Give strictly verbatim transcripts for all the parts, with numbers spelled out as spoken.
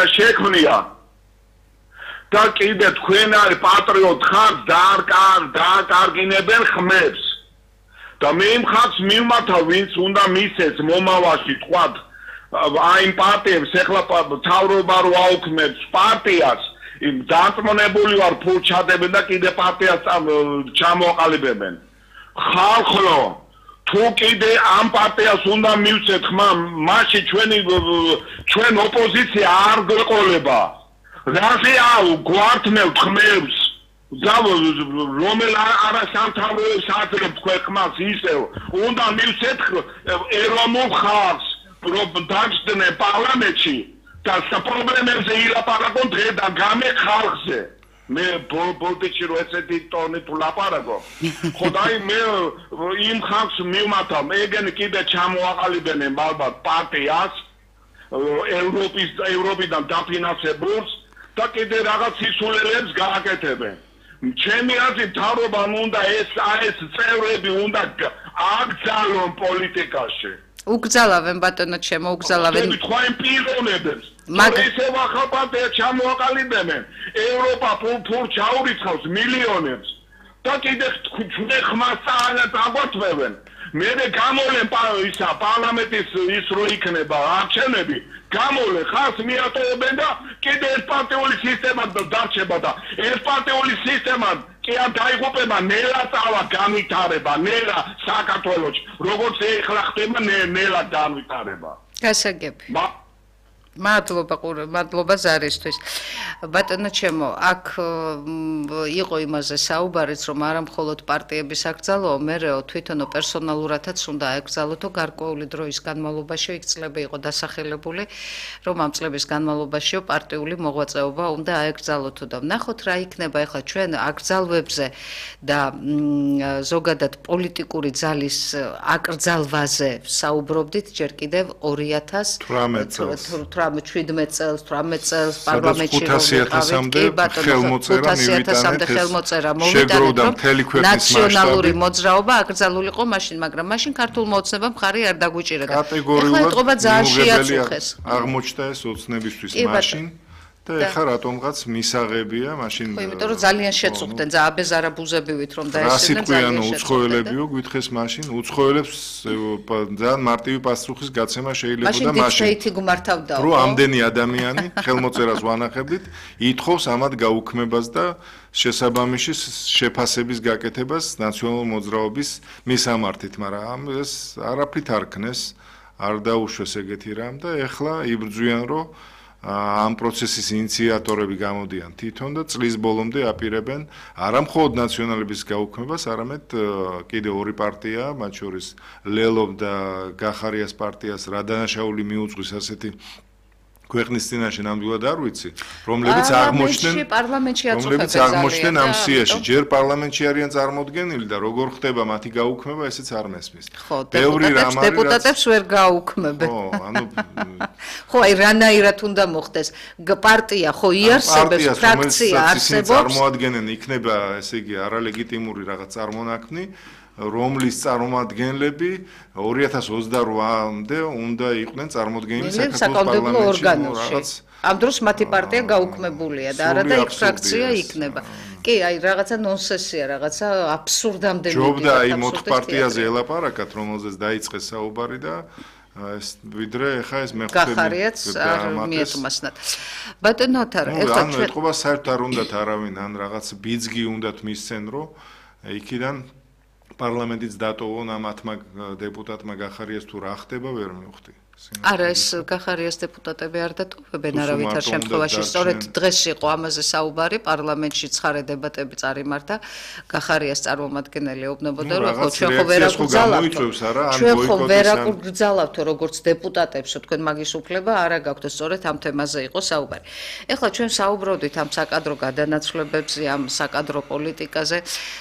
პარტია შექმნია და კიდე თქვენ არის პატრიოტ ხართ დააკარგინებენ ხმებს და მე იმ ხალხს მივმართავ ვინც უნდა მისცეს მომავალში თქვათ აი პარტიებს ეხლა თავრობა რო აუქმებს პარტიას იმ დაწმუნებული ვარ ფულ ჩადებენ და კიდე პარტიას ჩამოაყალიბებენ ხალხო თუ კიდე ამ პარტიას უნდა მივცეთ ხმა მაშინ ჩვენი ჩვენ ოპოზიცია არ გყოლება რაზე აუ გვართმევთ ხმებს და რომელ არასამთავრობო საათებს თქვენ ხმას ისევ უნდა მივცეთ ეროვნულ ხალხს რომ დაჯდნენ პარლამენტში და პრობლემებზე ილაპარაკონ დღე და გამე ხალხზე მე ბოლტიჩი რო ესეთი ტონით ვლაპარაკო ხო და მე იმ ხალხს მივმართავ ეგენი კიდე ჩამოაყალიბებენ ალბათ პარტიას ევროპის ევროპიდან დაფინანსებულს და კიდე რაღაც სისულელებს გააკეთებენ ჩემი აზრით მთავრობამ უნდა ეს ეს წევრები უნდა აკრძალონ პოლიტიკაში უგზალავენ ბატონო ჩემო უგზალავენ თქვა იმ პიროვნებებს მაგრამ ისევ ახალ პარტია ჩამოაყალიბებენ ევროპა ფულ ჩაურიცხავს მილიონებს და კიდე ჩვენ ხმას აგვართმევენ მე გამოლენ ისა პარლამენტის ის რო იქნება არჩევნები გამოლენ ხალხს მიატოვებენ და კიდე ერთპარტიული სისტემა დარჩება და ერთპარტიული სისტემა კი არ დაიღუპება ნელა წავა განვითარება ნელა საქართველოში როგორც ეხლა ხდება ნელა განვითარება გასაგები მადლობა ყურე მადლობა ზარისთვის ბატონო ჩემო აქ იყო იმაზე საუბარიც რომ არა მხოლოდ პარტიების აკრძალვა მერეო თვითონო პერსონალურადაც უნდა აკრძალოთო გარკვეული დროის განმავლობაში იქ წლები იყო დასახელებული რომ ამ წლების განმავლობაშიო პარტიული მოღვაწეობა უნდა აკრძალოთო და ვნახოთ რა იქნება ახლა ჩვენ აკრძალვებზე და ზოგადად პოლიტიკური ძალის აკრძალვაზე საუბრობდით ჯერ კიდევ ორი ათას შვიდმეტ წელს, თვრამეტ წელს პარლამენტში ხელმოწერა მოვიტანეთ, რომ ნაციონალური მოძრაობა აკრძალულიყო მაშინ, მაგრამ მაშინ ქართულ მოოცნებამ მხარი არ დაგვიჭირა. კატეგორიულად აღმოჩნდა ეს ოცნებისთვის მაშინ და ეხლა რატომღაც მისაღებია მაშინ ხო იმიტომ რომ ძალიან შეწუხდნენ და აბეზარაბუზებივით რომ დაესწრნენ ძალიან უცხოელებიო გითხეს მაშინ უცხოელებს ძალიან მარტივი პასუხის გაცემა შეიძლება და მაშინ მაშინ გმართავდა რომ ამდენი ადამიანი ხელმოწერას ვანახებდით ითხოვს ამათ გაუქმებას და შესაბამისი შეფასების გაკეთებას ნაციონალურ მოძრაობის მისამართით მაგრამ ეს არაფრით არ ქნეს არ დაუშვეს ეგეთი რამ და ეხლა იბრძვიან რომ ამ პროცესის ინიციატორები გამოდიან თვითონ და წლის ბოლომდე აპირებენ არა მხოლოდ ნაციონალების გაუქმებას, არამედ კიდე ორი პარტია, მათ შორის ლელობ და გახარიას პარტიას რა დანაშაული მიუძღვის ასეთი ქვეყნის წინაშე ნამდვილად არ ვიცი, რომლებიც აღმოჩნდნენ რომლებიც აღმოჩნდნენ ამ სიაში, ჯერ პარლამენტში არიან წარმოდგენილი და როგორ ხდება მათი გაუქმება, ესეც არ მესმის. ბევრი რამ არის დეპუტატებს ვერ გაუქმებენ. ხო, ანუ ხო, აი რანაირად უნდა მოხდეს? პარტია ხო იარსებებს, ფრაქცია არსებობს. წარმოადგენენ იქნება, ესე იგი, არალეგიტიმური რაღაც წარმონაქმნი. რომლის წარმომადგენლები ორი ათას ოცდარვამდე უნდა იყვნენ წარმოდგენილი საკანონმდებლო ორგანოში. ამ დროს მათი პარტია გაუქმებულია და არა და იქ ფრაქცია იქნება. კი, აი რაღაცა ნონსენსია, რაღაცა აბსურდამდე მიდია. ჯობდა აი მოთხ პარტიაზე ელაპარაკათ, რომელზეც დაიწყეს საუბარი და ეს ვიდრე ხა ეს მეხვდები გახარიაც არ მიეთმასნათ. ბატონო ოთარ, ეხლა ჩვენ ეთყობა საერთოდ არ უნდათ არავინ ან რაღაც ბიძგი უნდათ მისცენ, რომ იქიდან პარლამენტიც დატოვონ ამ ათმა დეპუტატმა გახარიას თუ რა ხდება ვერ მივხვდი. არა ეს გახარიას დეპუტატები არ დატოვებენ არავითარ შემთხვევაში. სწორედ დღეს იყო ამაზე საუბარი პარლამენტში ცხარე დებატები წარიმართა. გახარიას წარმომადგენელი ეუბნებოდა რომ ხო ჩვენ ხო ვერ აკრძალავთ. ჩვენ ხო ვერ აკრძალავთ როგორც დეპუტატებს თქვენ მაგის უფლება არ გაქვთ. სწორედ ამ თემაზე იყო საუბარი. ეხლა ჩვენ საუბრობდით ამ საკადრო გადანაცვლებებზე, ამ საკადრო პოლიტიკაზე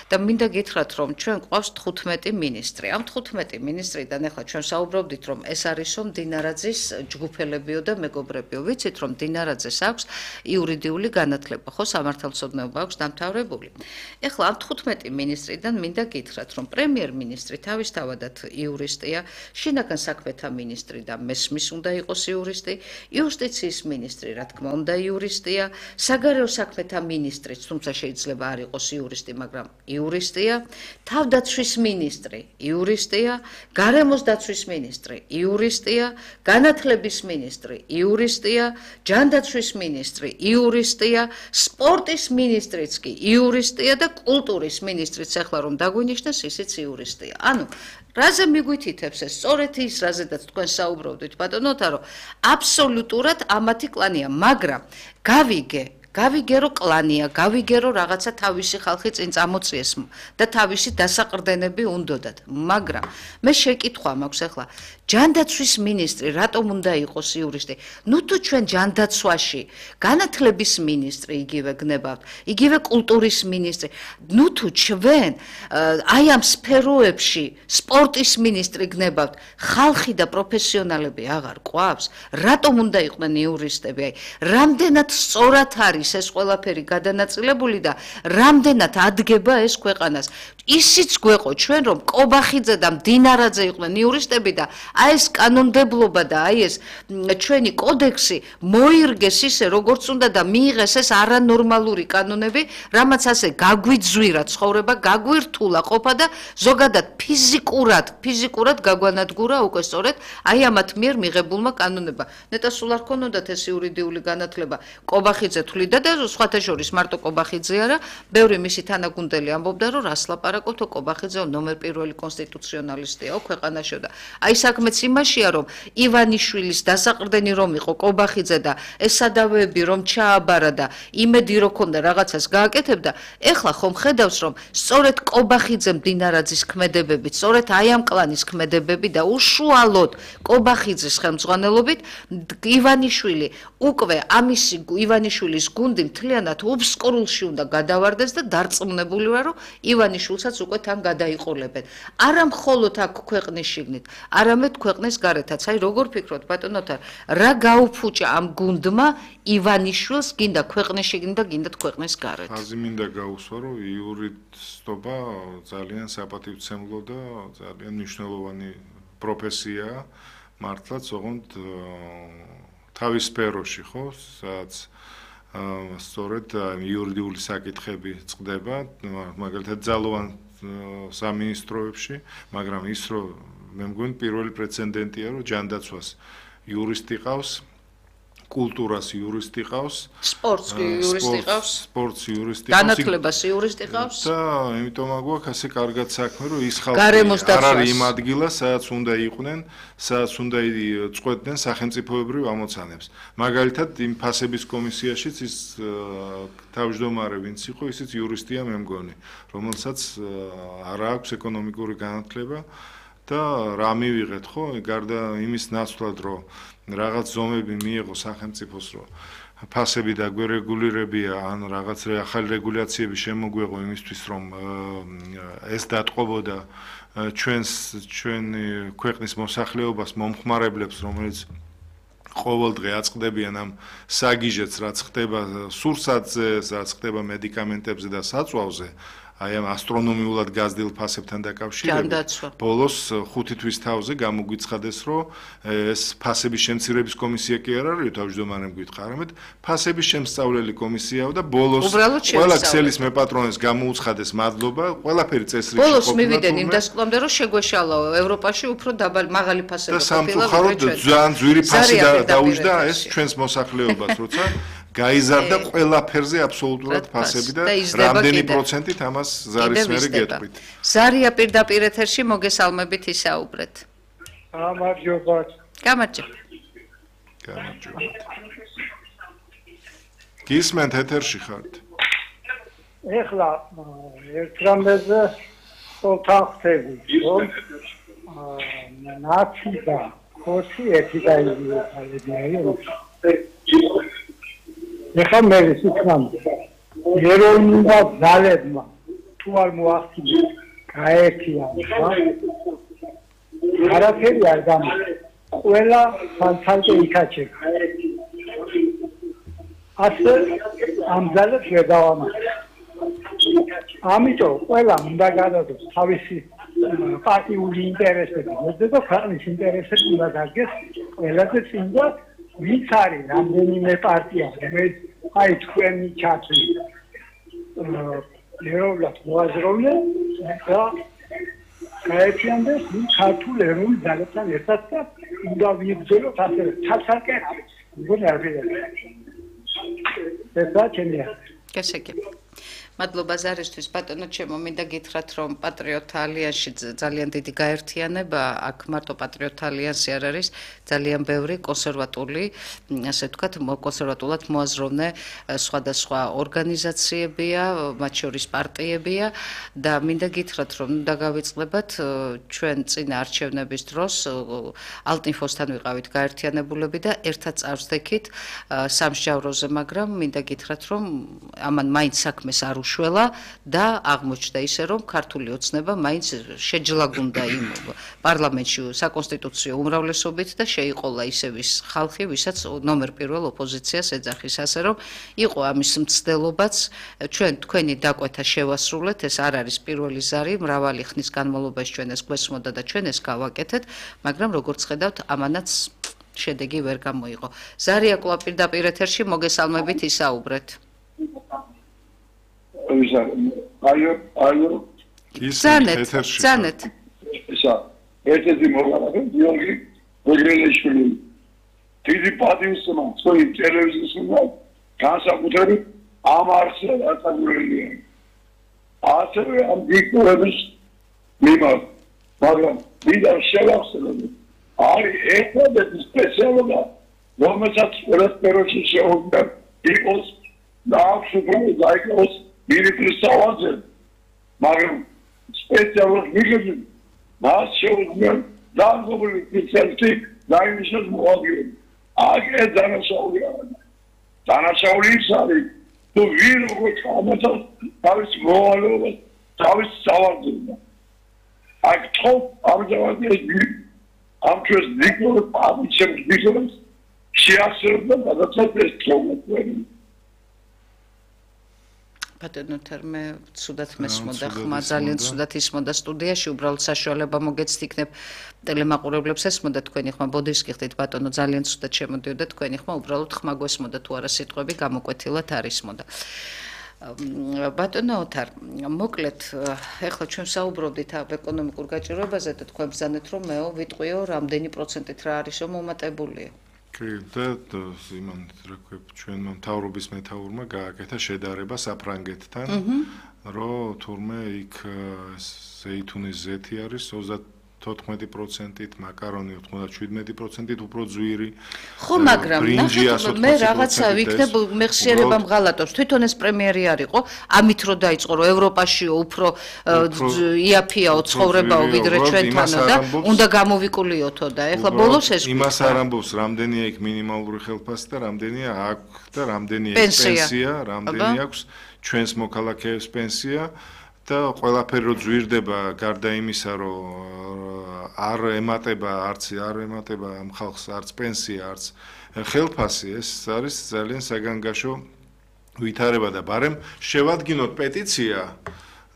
და მინდა გითხრათ რომ ჩვენ გვყავს თხუთმეტი მინისტრი. ამ თხუთმეტი მინისტრიდან ეხლა ჩვენ საუბრობდით რომ ეს არისო მდინარე დინარაძის ჯგუფელებიო და მეგობრებიო. ვიცით რომ დინარაძეს აქვს იურიდიული განათლება, ხო, სამართალმცოდნეობა აქვს დამთავრებული. ეხლა ამ თხუთმეტი მინისტრიდან მინდა გითხრათ, რომ პრემიერ-მინისტრი თავისთავადად იურისტია, შინაგან საქმეთა მინისტრი და მესმის უნდა იყოს იურისტი, იუსტიციის მინისტრი, რა თქმა უნდა, იურისტია, საგარეო საქმეთა მინისტრიც, თუმცა შეიძლება არ იყოს იურისტი, მაგრამ იურისტია, თავდაცვის მინისტრი, იურისტია, გარემოს დაცვის მინისტრი, იურისტია, განათლების მინისტრი, იურისტია, ჯანდაცვის მინისტრი, იურისტია, სპორტის მინისტრიც კი იურისტია და კულტურის მინისტრიც ახლა რომ დაგვინიშნეს, ისიც იურისტია. ანუ რაზე მიგვითითებს ეს? სწორედ ის, რაზედაც თქვენ საუბრობდით, ბატონო თარო, აბსოლუტურად ამათი კლანია, მაგრამ გავიგე გავიგე რომ კლანია, გავიგე რომ რაღაცა თავისი ხალხი წინ წამოწიეს და თავისი დასაყრდენები უნდოდათ, მაგრამ მე შეკითხვა მაქვს ახლა, ჯანდაცვის მინისტრი რატომ უნდა იყოს იურისტი? ნუ თუ ჩვენ ჯანდაცვაში განათლების მინისტრი იგივე გნებავთ, იგივე კულტურის მინისტრი, ნუ თუ ჩვენ აი ამ სფეროებში სპორტის მინისტრი გნებავთ, ხალხი და პროფესიონალები აღარ ყვავს, რატომ უნდა იყვნენ იურისტები? აი, რამდენად სწორად არის ეს ყველაფერი გადანაწილებული და რამდენად ადგება ეს ქვეყანას. ისიც გვეყო ჩვენ რომ კობახიძე და მდინარაძე იყვნენ იურისტები და აი ეს კანონმდებლობა და აი ეს ჩვენი კოდექსი მოირგეს ისე როგორც უნდა და მიიღეს ეს არანორმალური კანონები, რამაც ასე გაგვიძვირა ცხოვრება, გაგვირთულა ყოფა და ზოგადად ფიზიკურად, ფიზიკურად გაგვანადგურა უკვე სწორედ აი ამათ მიერ მიღებულმა კანონებმა. ნეტა სულ არ ქონოდათ ეს იურიდიული განათლება. კობახიძე თვლიდა და სხვათა შორის მარტო კობახიძე არა, ბევრი მისი თანაგუნდელი ამბობდა რომ რას ლაპარაკობთო, კობახიძე ნომერ პირველი კონსტიტუციონალისტია ქვეყანაში და აი საქმეც იმაშია რომ ივანიშვილის დასაყრდენი რომ იყო კობახიძე და ეს სადავეები რომ ჩააბარა და იმედი რო ქონდა რაღაცას გააკეთებდა, ეხლა ხომ ხედავს რომ სწორედ კობახიძე მდინარაძის ქმედებები, სწორედ აი ამ კლანის ქმედებები და უშუალოდ კობახიძის ხელმძღვანელობით ივანიშვილი უკვე ამისი ივანიშვილის გუნდი მთლიანად უბსკრულში უნდა გადავარდეს და დარწმუნებული ვარ რომ ივანიშვილსაც უკვე თან გადაიყოლებენ. არა მხოლოდ აქ ქვეყნის შიგნით, არამედ ქვეყნის გარეთაც. აი როგორ ფიქრობთ ბატონოთა, რა გაუფუჭა ამ გუნდმა ივანიშვილს გინდა ქვეყნის შიგნით და გინდა ქვეყნის გარეთ? ხაზი მინდა გაუსვა რომ იურისტობა ძალიან საპატივცემლო და ძალიან მნიშვნელოვანი პროფესიაა, მართლაც ოღონდ თავის სფეროში, ხო, სადაც სწორედ იურიდიული საკითხები წყდება, მაგალითად ძალოვან სამინისტროებში, მაგრამ ის რომ მე მგონი პირველი პრეცედენტია რომ ჯანდაცვას იურისტი ყავს, კულტურას იურისტი ყავს, სპორტს იურისტი ყავს, სპორტს იურისტი ყავს, განათლებას იურისტი ყავს და იმიტომ აგვაქვს ასე კარგად საქმე რომ ის ხალხი არ არის იმ ადგილას, სადაც უნდა იყვნენ, სადაც უნდა წყვეტდნენ სახელმწიფოებრივ ამოცანებს. მაგალითად იმ ფასების კომისიაშიც ის თავმჯდომარე ვინც იყო, ისიც იურისტია მე მგონი, რომელსაც არ აქვს ეკონომიკური განათლება და რა მივიღეთ, ხო, გარდა იმის ნაცვლად რომ რაღაც ზომები მიიღო სახელმწიფოს რომ ფასები დაგვერეგულირებია, ან რაღაც ახალი რეგულაციები შემოგვეღო იმისთვის რომ ეს დატყობოდა ჩვენს ჩვენი ქვეყნის მოსახლეობას მომხმარებლებს, რომელიც ყოველდღე აწყდებიან ამ საგიჟეთს, რაც ხდება სურსათზე, რაც ხდება მედიკამენტებზე და საწვავზე. აი ამ ასტრონომიულად გაზრდილ ფასებთან დაკავშირებით ბოლოს ხუთი თვის თავზე გამოგვიცხადეს რომ ეს ფასების შემცირების კომისია კი არ არის თავმჯდომარემ გითხრა, არამედ ფასების შემსწავლელი კომისიაა და ბოლოს ყველა ქსელის მეპატრონეს გამოუცხადეს მადლობა, ყველაფერი წესრიგში ყოფილა. ბოლოს მივიდენ იმ დასკვნამდე რომ შეგვეშალაო ევროპაში უფრო დაბალი მაღალი ფასები ყოფილა. და სამწუხაროდ ძალიან ძვირი ფასი დაუჯდა ეს ჩვენს მოსახლეობას, როცა გაიზარდა ყველაფერზე აბსოლუტურად ფასები და რამდენი პროცენტით ამას ზარის მერე გეტყვით. ზარია პირდაპირ ეთერში მოგესალმებით ისაუბრეთ. გამარჯობათ. გამარჯობა. გამარჯობათ. გისმენთ ეთერში ხართ? ეხლა ერთ რამეზე ხოლთან ხდები, რომ ნაცი და ხორცი ერთი დაიწყებია. ეხლა მე ვისიქნამ ეროვნულად ძალებმა თუ არ მოახდინეს გაერთიანება არაფერი არ გამოდის. ყველა ფანთალკე იქაჩება. ასე ამ ძალებს ვერ დავამატებ. ამიტომ ყველა უნდა გადადოს თავისი პარტიული ინტერესები, და ქვეყნის ინტერესები უნდა დადგეს ყველაზე წინ და ვინც არის რამდენიმე პარტია, რომელიც აი თქვენი ჩათვლით ეროვნულად მოაზროვნე და გაერთიანდეს ქართულ ეროვნულ ძალებთან ერთად და უნდა ვიბრძოლოთ ასე ცალ-ცალკე არის. მგონი არ ვიღებია. ესაა ჩემი აზრი. გასაგები. მადლობა ზარისთვის, ბატონო ჩემო, მინდა გითხრათ, რომ პატრიოტთა ალიანსში ძალიან დიდი გაერთიანება, აქ მარტო პატრიოტთა ალიანსი არ არის, ძალიან ბევრი კონსერვატული, ასე ვთქვათ, კონსერვატულად მოაზროვნე სხვადასხვა ორგანიზაციებია, მათ შორის პარტიებია და მინდა გითხრათ, რომ დაგავიწყდებათ ჩვენ წინა არჩევნების დროს ალტინფოსთან ვიყავით გაერთიანებულები და ერთად წავსდექით სამსჯავროზე, მაგრამ მინდა გითხრათ, რომ ამან მაინც საქმეს არ უშველა და აღმოჩნდა ისე, რომ ქართული ოცნება მაინც შეჯლაგუნდა იმ პარლამენტში საკონსტიტუციო უმრავლესობით და შეიყოლა ისევის ხალხი, ვისაც ნომერ პირველ ოპოზიციას ეძახის, ასე რომ იყო ამის მცდელობაც, ჩვენ თქვენი დაკვეთა შევასრულეთ, ეს არ არის პირველი ზარი, მრავალი ხნის განმავლობაში ჩვენ ეს გვესმოდა და ჩვენ ეს გავაკეთეთ, მაგრამ როგორც ხედავთ, ამანაც შედეგი ვერ გამოიღო. ზარია კვლავ პირდაპირ ეთერში, მოგესალმებით, ისაუბრეთ. აიო, აიო. ზანეთ, ზანეთ. ისა, ერთ-ერთი მოგალახე, გიორგი გოგრელიშვილი. დიდი პატივისცემა თქვენი ტელევიზიის უნდა განსაკუთრებით ამ არხზე დაწაგულებულია. ასევე ამ დიქტორების მიმართ, მაგრამ მინდა შევახსენოთ, არის ერთადერთი სპეციალობა, რომელსაც ყველა სფეროში შეუძლია იყოს და აქვს უბრალოდ დაიკავოს ministry სავარზე, მაგრამ სპეციალურ მიღებენ მას შეუძლია დაგობილი სპეციალისტი დაინიშნოს მოადგილე. აგე დანაშაულია. დანაშაული ის არის, თუ ვინ როგორ ჩამოწევს თავის მოვალეობას, თავის სავარზე. აქ თო ამჟამად ეს ამ ჩვენს დიქტორ პაბლიკს ბიზნეს შეასრულა და გადაწყვეტეს თორმეტი. ბატონო თერმე ცუდად მესმოდა ხმა ძალიან ცუდად ისმოდა სტუდიაში უბრალოდ საშუალება მოგეცთ იქნებ ტელემაყურებლებს ესმოდა თქვენი ხმა ბოდიშს გიხდით ბატონო ძალიან ცუდად შემოდიოდა თქვენი ხმა უბრალოდ ხმა გვესმოდა თუ არა სიტყვები გამოკვეთილად არ ისმოდა ბატონო ოთარ მოკლედ ეხლა ჩვენ საუბრობდით ამ ეკონომიკურ გაჭირვებაზე და თქვენ ბრძანეთ რომ მეო ვიტყვიო რამდენი პროცენტით რა არისო მომატებულია და იმან რა ქვია ჩვენმა მთავრობის მეთაურმა გააკეთა შედარება საფრანგეთთან რომ თურმე იქ ზეითუნის ზეთი არის ოცდათოთხმეტი პროცენტით მაკარონი ოცდაშვიდმეტი პროცენტით უფრო ძვირი ხო მაგრამ ნახეთ მე რაღაცა ვიქნებ მეხსიერება მღალატობს თვითონ ეს პრემიერი არისო ამით რო დაიწყო რომ ევროპაშიო უფრო იაფიაო ცხოვრებაო ვიდრე ჩვენთანო და უნდა გამოვიკულიოთო და ეხლა ბოლოს ეს იმას არ ამბობს რამდენია იქ მინიმალური ხელფასი და რამდენია აქვს და რამდენია პენსია რამდენი აქვს ჩვენს მოქალაქეებს პენსია და ყველაფერი რო ძვირდება გარდა იმისა რომ არ ემატება არც არ ემატება ამ ხალხს არც პენსია არც ხელფასი ეს არის ძალიან საგანგაშო ვითარება და ბარემ შევადგინოთ პეტიცია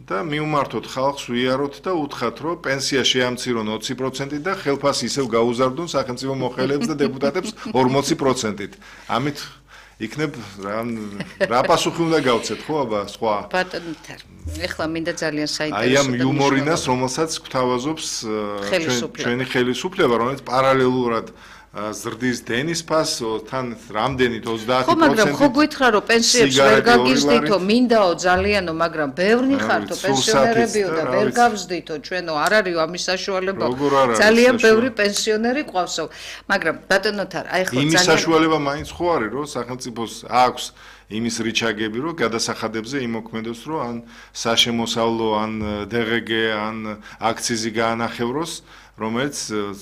და მიუმართოთ ხალხს ვიაროთ და უთხრათ რომ პენსია შეამცირონ ოცი პროცენტით და ხელფასი ისევ გაუზარდონ სახელმწიფო მოხელეებს და დეპუტატებს ორმოცი პროცენტით ამით იქნებ რა პასუხი უნდა გავცეთ ხო აბა სხვა ბატონო ეხლა მინდა ძალიან საინტერესო აი ამ იუმორინას რომელსაც გვთავაზობს ჩვენი ხელისუფლება რომელიც პარალელურად ზრდის დენის ფასო თან რამდენით ოცდაათი პროცენტით ხო მაგრამ ხო გითხრა რომ პენსიებს ვერ გაგიზდითო მინდაო ძალიანო მაგრამ ბევრნი ხართო პენსიონერებიო და ვერ გავზდითო ჩვენო არ არისო ამის საშუალება ძალიან ბევრი პენსიონერი ყავსო მაგრამ ბატონოთარ აი ხო ძალიან იმის საშუალება მაინც ხო არის რომ სახელმწიფოს აქვს იმის რიჩაგები რომ გადასახადებზე იმოქმედოს რომ ან საშემოსავლო ან დღგ ან აქციზი გაანახევროს რომელიც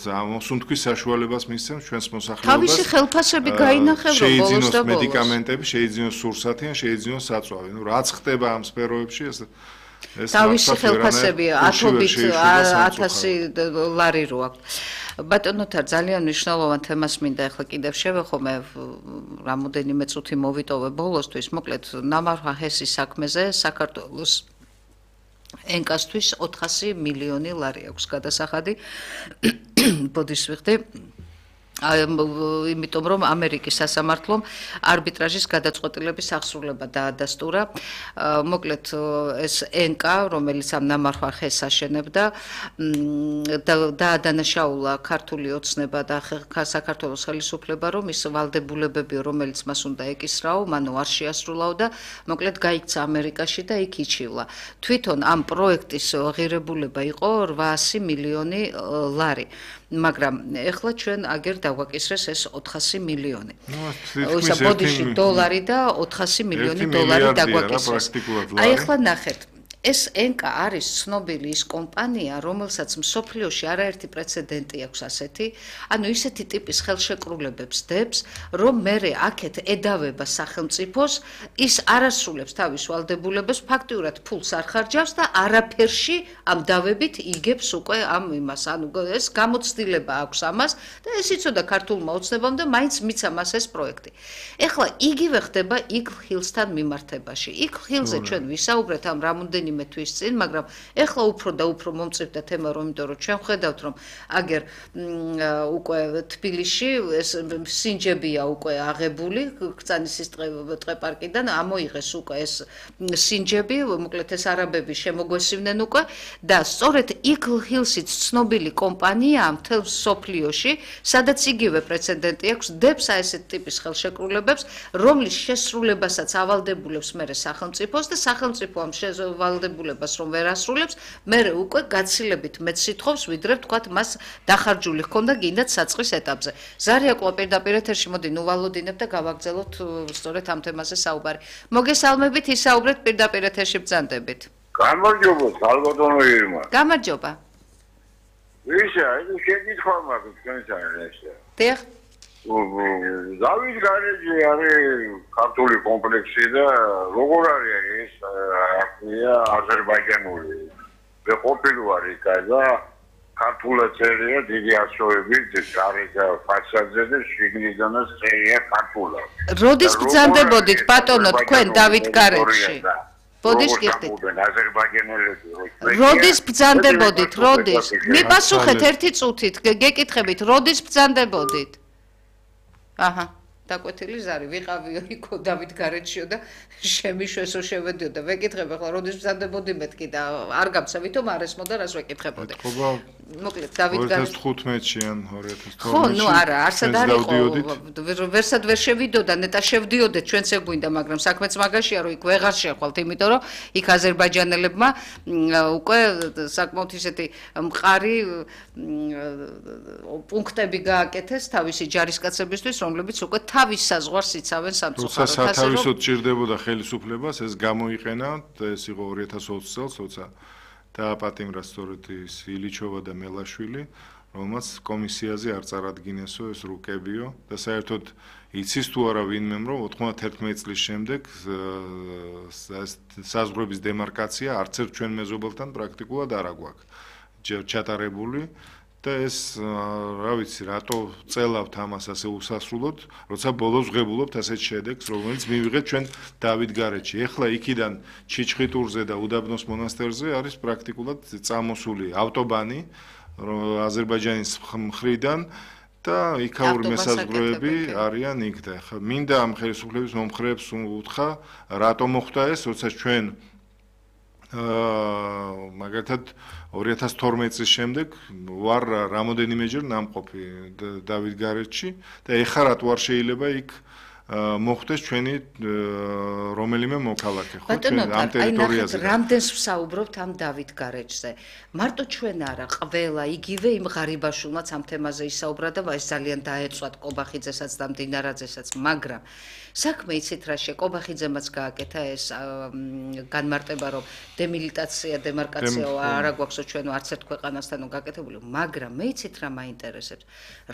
ამოსუნთქვის საშუალებას მისცემს ჩვენს მოსახლეობას თავისი ხელფასები გაინახევრო ბოლოს და ბოლოს მედიკამენტები შეიძინოს სურსათი ან შეიძინოს საწვავი ნუ რაც ხდება ამ სფეროებში ეს თავისი ხელფასები ათობით ათასი ლარი რო აქვს ბატონოთარ ძალიან მნიშვნელოვან თემას მინდა ახლა კიდევ შევეხო მე რამოდენიმე წუთი მოვიტოვე ბოლოსთვის მოკლედ ნამარხა ჰესის საქმეზე საქართველოს ენკასთვის ოთხასი მილიონი ლარი აქვს გადასახადი ბოდის ვიხდი იმიტომ რომ ამერიკის სასამართლომ არბიტრაჟის გადაწყვეტილების აღსრულება დაადასტურა მოკლედ ეს ენკა რომელიც ამ ნამარხვა ხეს აშენებდა დაადანაშაულა ქართული ოცნება და საქართველოს ხელისუფლება რომ ის ვალდებულებები რომელიც მას უნდა ეკისრაო მანო არ შეასრულაო და მოკლედ გაიქცა ამერიკაში და იქ იჩივლა თვითონ ამ პროექტის ღირებულება იყო რვაასი მილიონი ლარი მაგრამ ეხლა ჩვენ აგერ დავაკისრეს ეს ოთხასი მილიონი. ისა ბოდიში დოლარი და ოთხასი მილიონი დოლარი დაგვაკისრეს. აი ეხლა ნახეთ ეს ენკა არის ცნობილი ის კომპანია, რომელსაც მსოფლიოში არაერთი პრეცედენტი აქვს ასეთი, ანუ ისეთი ტიპის ხელშეკრულებებს დებს, რომ მერე აქეთ ედავება სახელმწიფოს, ის არასრულებს თავის ვალდებულებას, ფაქტიურად ფულს არ ხარჯავს და არაფერში ამ დავებით იგებს უკვე ამ იმას, ანუ ეს გამოცდილება აქვს ამას და ეს იცოდა ქართულმა ოცნებამ და მაინც მიცა მას ეს პროექტი. ეხლა იგივე ხდება იქ ხილსთან მიმართებაში. იქ ხილზე ჩვენ ვისაუბრეთ ამ რამოდენიმე თვის წინ, მაგრამ ეხლა უფრო და უფრო მომწიფდა თემა, რომ იმიტომ რომ ჩვენ ხედავთ, რომ აგერ უკვე თბილისში ეს სინჯებია უკვე აღებული, კრწანისის ტყე-პარკიდან ამოიღეს უკვე ეს სინჯები, მოკლედ ეს არაბები შემოგვესივნენ უკვე და სწორედ იქ ჰილსიც ცნობილი კომპანია მთელ სოფლიოში, სადაც იგივე პრეცედენტი აქვს, დებს ასეთ ტიპის ხელშეკრულებებს, რომლის შესრულებასაც ავალდებულებს მერე სახელმწიფოს და სახელმწიფო ამ ვალდებულებას რომ ვერ ასრულებს, მერე უკვე გაცილებით მეც სიტყვებს, ვიდრე ვთქვათ მას დახარჯული ჰქონდა გინდათ საწყის ეტაპზე. ზარია ყვა პირდაპირ ეთერში, მოდი ნუ ვალოდინებ და გავაგზავნოთ სწორედ ამ თემაზე საუბარი. მოგესალმებით, ისაუბრეთ პირდაპირ ეთერში ბრძანდებით. გამარჯობა, სალვადორო ირმა. გამარჯობა. ვიშა, ეს შეკითხვა მაქვს თქვენთან ესე. დიახ. დავით გარეჯი არის ქართული კომპლექსი და როგორ არის ეს აკია აზერბაიჯანული მე ყოფილი ვარ იქ და ქართულად წერია დიდი ასოებით არის ფასადზე და შიგნიდანაც წერია ქართულად როდის ბრძანდებოდით ბატონო თქვენ დავით გარეჯში ბოდიშ გიხდით აზერბაიჯანელები როდის ბრძანდებოდით როდის მიპასუხეთ ერთი წუთით გეკითხებით როდის ბრძანდებოდით აჰა დაკვეთილი ზარი ვიყავიო იქო დავით გარეჯშიო და შემიშვესო შევედიო და ვეკითხებ ახლა როდის ბრძანდებოდი მეთქი და არ გამცევითო მარესმო და რას ვეკითხებოდი მოკლედ დავით გარეჯში ორი ათას თხუთმეტში ან ორი ათას თორმეტში ხო ნუ არა არსად არ იყო ვერსად ვერ შევიდოდა ნეტა შევდიოდეთ ჩვენც ეგვინდა მაგრამ საქმეც მაგაშია რომ იქ ვეღარ შეხვალთ იმიტომ რომ იქ აზერბაიჯანელებმა უკვე საკმაოდ ისეთი მყარი პუნქტები გააკეთეს თავისი ჯარისკაცებისთვის რომლებიც უკვე თავის საზღვარს იცავენ სამწუხაროდ ასე რომ სათავისოდ ჭირდებოდა ხელისუფლებას ეს გამოიყენა ეს იყო ორი ათას ოცი წელს თორსა დააპატიმრა სწორედ ის ილიჩოვა და მელაშვილი რომელმაც კომისიაზე არ წარადგინესო ეს რუკებიო და საერთოდ იცის თუ არა ვინმემ რომ ოთხმოცდაერთმეტი წლის შემდეგ საზღვრების დემარკაცია არც ერთ ჩვენ მეზობელთან პრაქტიკულად არ აქვს ჩატარებული და ეს რა ვიცი რატო წელავთ ამას ასე უსასრულოდ როცა ბოლოს ვღებულობთ ასეთ შედეგს რომელიც მივიღეთ ჩვენ დავით გარეჯში ეხლა იქიდან ჩიჩხიტურზე და უდაბნოს მონასტერზე არის პრაქტიკულად წამოსული ავტობანი აზერბაიჯანის მხრიდან და იქაური მესაზღვრეები არიან იქ და ხა მინდა ამ ხელისუფლების მომხრეებს უთხრა რატო მოხდა ეს როცა ჩვენ აა მაგათად ორი ათას თორმეტი წლის შემდეგ ვარ რამოდენიმეჯერ ნამყოფი დავით გარეჯში და ეხლა რატო არ შეიძლება იქ მოხდეს ჩვენი რომელიმე მოქალაქე ხო ჩვენ ამ ტერიტორიაზე რამდენს ვსაუბრობთ ამ დავით გარეჯზე მარტო ჩვენ არა ყველა იგივე იმ ღარიბაშულმაც ამ თემაზე ისაუბრა და ეს ძალიან დაეწვათ კობახიძესაც და მდინარაძესაც მაგრამ საქმე იცით რა შე კობახიძემაც გააკეთა ეს განმარტება რომ დემილიტაცია დემარკაცია არ აგვაქვსო ჩვენ არც ერთ ქვეყანასთანო გაკეთებული მაგრამ მე იცით რა მაინტერესებს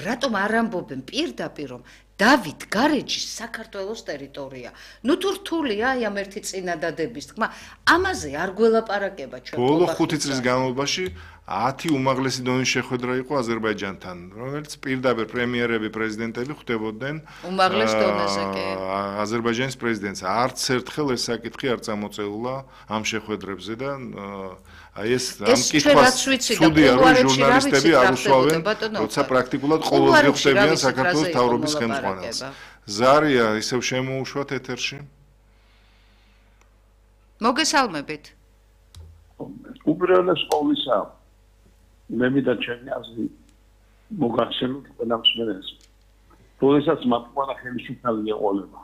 რატომ არ ამბობენ პირდაპირ რომ დავით გარეჯი საქართველოს ტერიტორია. ნუ თუ რთულია აი ამ ერთი წინადადების თქმა, ამაზე არ გველაპარაკება ჩვენ. ბოლო ხუთი წლის განმავლობაში ათი უმაღლესი დონის შეხვედრა იყო აზერბაიჯანთან, რომელიც პირდაპირ პრემიერები, პრეზიდენტები ხვდებოდნენ უმაღლეს დონეზე კი. აზერბაიჯანის პრეზიდენტს. არც ერთხელ ეს საკითხი არ წამოწეულა ამ შეხვედრებზე და აი ეს ამ კითხვას ცუდია რომ ჟურნალისტები არ უსვავენ, როცა პრაქტიკულად ყოველდღე ხვდებიან საქართველოს მთავრობის ხელმძღვანელს. ზარია ისევ შემოუშვათ ეთერში. მოგესალმებით. უბრალოდ ყოვლისა მე მინდა ჩემი აზრი მოგახსენოთ ყველა მსმენელს. როდესაც მათყუარა ხელისუფალი ეყოლება.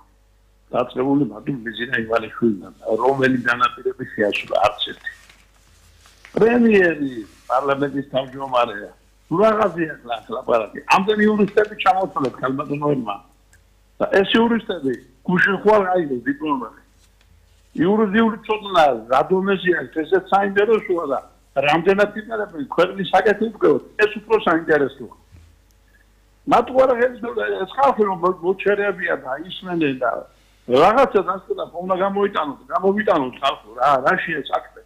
დაწყებული მათი ბიზნესი ივალიშვილიდან, რომელი განაპირები შეასრულა არც ერთი. პრემიერი პარლამენტის თავმჯდომარეა. რაღაცია ლაპარაკი. ამდენი იურისტები ჩამოთვალეთ ქალბატონოებმა. და ეს იურისტები გუშინ ხვალ აიღეს დიპლომები. იურიდიული ცოდნა რადონეზე აქვს ესეც საინტერესოა და რამდენად იმერები ქვეყნის საკითხი ვგებოთ ეს უფრო საინტერესოა. მათ უარა ეს ხალხი რომ მოჩერებია და ისმენენ და რაღაცა დასწრება უნდა გამოიტანოთ, გამოვიტანოთ ხალხო რა, რა შეეცაკდე.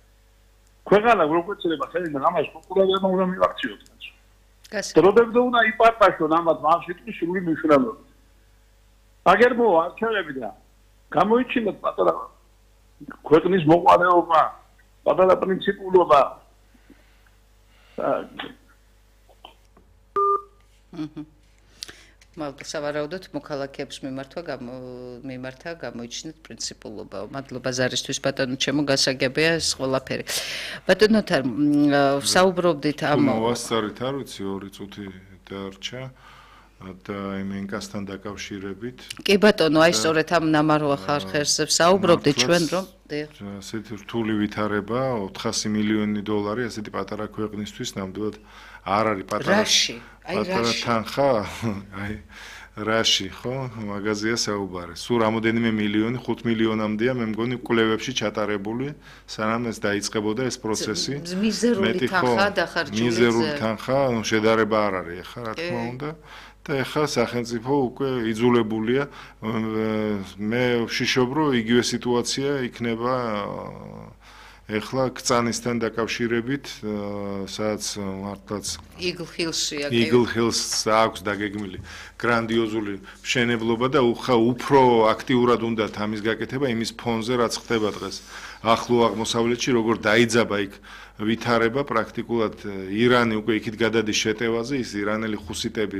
ქვეყანა როგორც შეიძლება ხელიდან ამას პროკურორებმა უნდა მივაქციოთ. დროდებდა უნდა იპარტაშონ ამათ ამ სიტყვის სრული მნიშვნელობა. აგერ მო არჩევნები და გამოიჩინოთ პატარა ქვეყნის მოყვარეობა, პატარა პრინციპულობა. მაგრამ სავარაუდოდ მოქალაქეებს მიმართვა მიმართა გამოიჩინეთ პრინციპულობა. მადლობა ზარისთვის ბატონო, ჩემო გასაგებია ეს ყველაფერი. ბატონო თან საუბრობდით ამ მოვასწარით არ ვიცი ორი წუთი დარჩა. და იმენკასთან დაკავშირებით. კი ბატონო, აი სწორედ ამ ნამარხვა ხარხერზე საუბრობდით ჩვენ რომ ასეთი რთული ვითარება ოთხასი მილიონი დოლარი ასეთი პატარა ქვეყნისთვის ნამდვილად არ არის პატარა. რაში? აი პატარა თანხა, აი რაში, ხო? მაღაზია საუბარი. სულ რამოდენიმე მილიონი, ხუთ მილიონამდეა, მე მგონი კვლევებში ჩატარებული, სანამ ეს დაიწყებოდა ეს პროცესი. მიზერული თანხა დახარჯული. მიზერული თანხა, ნუ შედარება არ არის, ახლა რა თქმა უნდა. და ეხლა სახელმწიფო უკვე იძულებულია მე ვშიშობ რომ იგივე სიტუაცია იქნება ეხლა კწანისთან დაკავშირებით სადაც მართლაც იგლ-ჰილსია კი იგლ-ჰილს აქვს დაგეგმილი გრანდიოზული მშენებლობა და უხა უფრო აქტიურად უნდა ამის გაკეთება იმის ფონზე რაც ხდება დღეს ახლო აღმოსავლეთში როგორ დაიძაბა იქ ვითარება პრაქტიკულად ირანი უკვე იქით გადადის შეტევაზე ის ირანელი ხუსიტები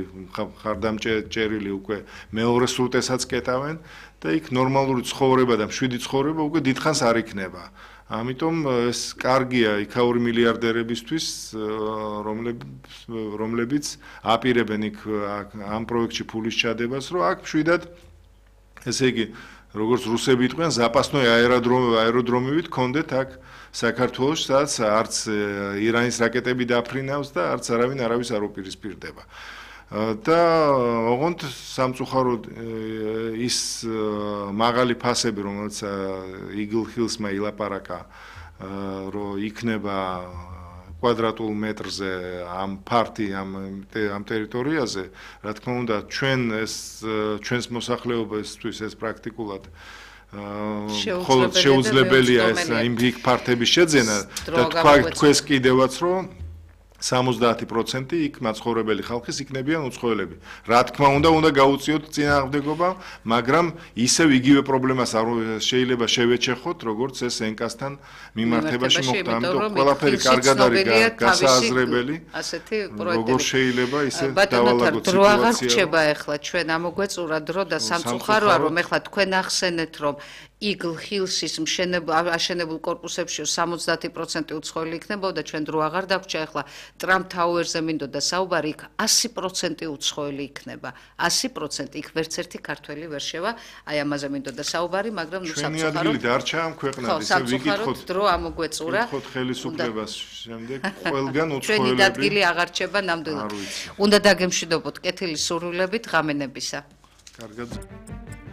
ხარდამჭერილი უკვე მეორე სრუტესაც კეტავენ და იქ ნორმალური ცხოვრება და მშვიდი ცხოვრება უკვე დიდხანს არ იქნება ამიტომ ეს კარგია იქაური მილიარდერებისთვის რომლებიც აპირებენ იქ ამ პროექტში ფულის ჩადებას რომ აქ მშვიდად ესე იგი როგორც რუსები იყვნენ ზაპასნოი აეროდრომივით კონდეთ აქ საქართველოს სადაც არც ირანის რაკეტები დაფრინავს და არც არავინ არავის არ უპირისპირდება და ოღონდ სამწუხაროდ ის მაღალი ფასები რომელიც იგლ-ჰილსმა ილაპარაკა რომ იქნება კვადრატულ მეტრზე ამ ფარტი ამ ამ ტერიტორიაზე რა თქმა უნდა ჩვენ ეს ჩვენს მოსახლეობისთვის ეს პრაქტიკულად მხოლოდ შეუძლებელია ეს იმ იქ ფართების შეძენა და თქვა თქვენს კიდევაც რომ სამოცდაათი პროცენტი იქ მაცხოვრებელი ხალხის იქნებიან უცხოელები. რა თქმა უნდა, უნდა გაუწიოთ წინააღმდეგობა, მაგრამ ისევ იგივე პრობლემას არ შეიძლება შევეჩეხოთ, როგორც ეს ენკასთან მიმართებაში მოხდა. ამიტომ ყველაფერი კარგად არის გასააზრებელი. ასეთი პროექტები. როგორ შეიძლება ისე დავალაგოთ სიტუაცია. დრო აღარ რჩება ახლა ჩვენ ამოგვეწურა დრო და სამწუხაროა რომ ახლა თქვენ ახსენეთ რომ იგლ-ჰილსის აშენებულ კორპუსებში სამოცდაათი პროცენტი უცხოელი იქნებოდა ჩვენ დრო აღარ დაგვრჩა ახლა ტრამპ თაუერზე მინდოდა საუბარი იქ ასი პროცენტი უცხოელი იქნება ასი პროცენტი იქ ვერც ერთი ქართველი ვერ შევა აი ამაზე მინდოდა საუბარი მაგრამ ნუ სამწუხაროდ ჩვენი ადგილი დარჩა ამ ქვეყნად ისე ვიკითხოთ დრო ამოგვეწურა ვიკითხოთ ხელისუფლებას შემდეგ ყველგან უცხოელები ჩვენი ადგილი აღარ რჩება ნამდვილად უნდა დაგემშვიდობოთ კეთილი სურვილებით ღამენებისა კარგად